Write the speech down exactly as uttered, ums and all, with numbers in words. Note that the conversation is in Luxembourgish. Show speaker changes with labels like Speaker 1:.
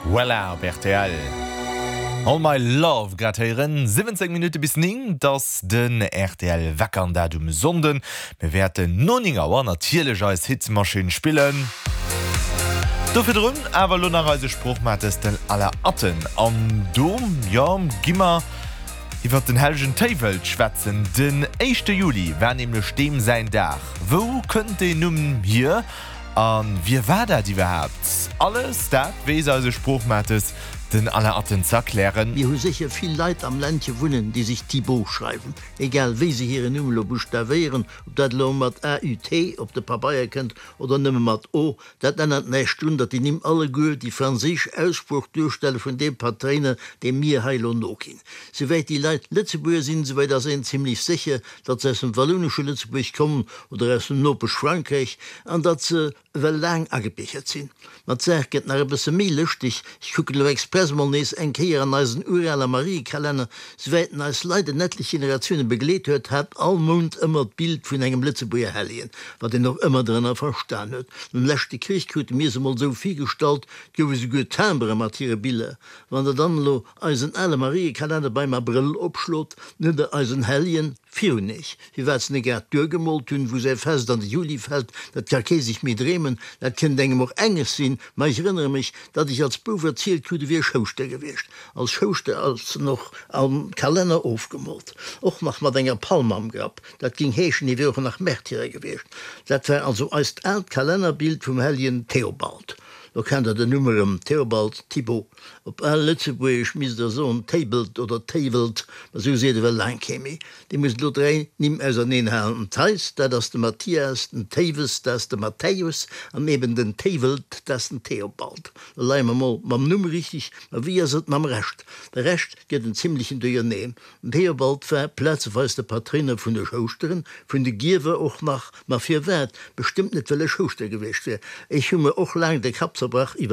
Speaker 1: Voilà op rtl. All My Love grad héieren siwwenzéng Minutte bis néng, 't ass den rtl Wecker an dat um Sonnden. Mir wäerten no néng Auer natierlech eis Hitmaschinn spillen. Do virdrun awer lo nach eise Sproochmates den Alain Atten. An do, jo, gi mer iwwer den hellegen Téiwelt schwätzen. Den éischte Juli war nämlech deem säin Dag. Wou kënnt deen Numm hier a wie war dat iwwerhaapt? Alles dat weess eise Sproochmates den Alain Atten ze erklären.
Speaker 2: Mir hu sécher vill Leit am Ländche wunnen, déi sech Thibaut schreiwen, egal wéi se hiren Numm elo buschtawéieren, ob dat elo mat A U T op de Pabeier kënnt oder nëmme mat O, dat ännert näischt drun, datt déi Nimm alleguer déi franséisch Aussprooch duerstelle vun deem Patréiner, deem mir hei elo noginn. Souwäit déi Leit Lëtzebuerger sinn, souwäit ass een zimlech sécher, datt se aus dem wallounesche Lëtzebuerg kommen oder aus dem Nopesch-Frankräich an datt se ewell laang agebiergert sinn. Ma d'Saach gëtt nach e bësse méi lëschteg, ech kucken elo express mol nees eng Kéier an eisen urale Mariekalenner, souwäit en eis leider en etlech Generatioune begleet huet, hat all Mount ëmmer d'Bild vun engem Lëtzebuerger Hellegen, wat een och ëmmer drënner verstan huet. Nom leschte Krich krute mir se mol esou virgestallt, 't gouf esouguer Timbere mat hire Biller. Wann der dann elo eisen ale Mariekalenner beim Abrëll opschlot, dann hutt der eisen Helljen virun iech. Firwat se net grad duergemoolt hunn, wou säi Fest an de Juli fält, dat ka kee sech méi dreemen. Dat kënnt engem och enges sinn, ma ech erënnere mech, datt ech als Bouf erzielt krut, e wier Schouschter gewiescht. Als Schouschter ass en och am Kalenner ofgemoolt, och nach mat enger Palm am Grapp. Dat géing heeschen, hie wier och nach Märtyrer gewiescht. Dat war also eist aalt Kalennerbild vum Helljen Theobald. Lo kennt der den Numm erëm, Theobald, Thibaut. Op al Lëtzebuergesch misst der soen Téibelt oder Téiwelt, ma sou seet ewell laang kee méi. Dir musst elo dräi Nimm auserneen halen, den Theis, dat ass de Mathias, den Théiwes, dat ass de Matthäus, an eben den Téiwelt, dat ass den Theobald. Lo leie mer mol mam Numm richteg, ma wéi ass et mam Rescht? De Rescht gëtt en zimlechen Duerjerneen. Den Theobald war plazeweis de Patréiner vun de Schouschteren, vun de Gierwer och nach. Ma firwat? Bestëmmt net, well e Schouschter gewiescht wier. Ech hu mer och laang de Kapp zerbrach iwwer.